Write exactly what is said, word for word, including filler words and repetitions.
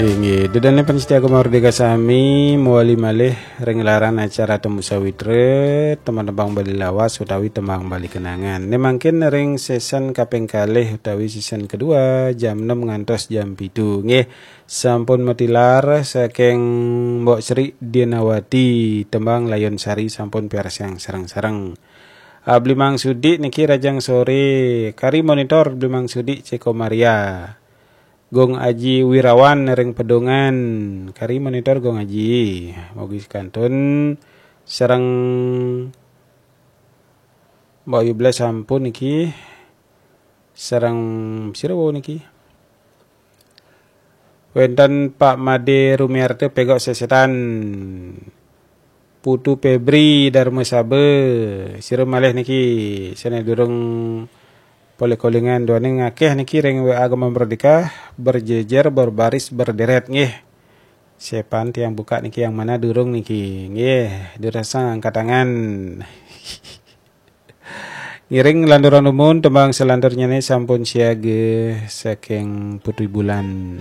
Inggih, ida dané pamiarsa Gema Merdeka sami, mawali malih ring gelaran acara Temu Sawitra, tembang-tembang Bali lawas utawi tembang Bali kenangan. Né mangkin ring season kaping kalih utawi season kedua, jam enam ngantos jam pitu. Nggih, sampun matilar saking Mbok Sri Dianawati, tembang Layun Sari sampun piarsang sareng-sareng. Ah, Bli Mang Sudi niki rahajeng sore, kari monitor Bli Mang Sudi Ceko Maria. Gung Aji Wirawan ring Pedungan, kari monitor Gung Aji. Mugi kantun sareng Mbok Ayu Blas sampun niki. Sareng sira wau niki. Wénten Pak Made Rumiarta Pegok Sesetan. Putu Febri Darmasaba, sira malih niki sané durung polih kolingan, duaning akéh niki ring W A Gema Merdeka, berjejer, berbaris, berderet nggih. Sepan tiang buka niki yang mana durung niki. Nggih, durasang angkat tangan. Ngiring lanturang dumun tembang salanturnyané sampun siaga saking Putri Bulan.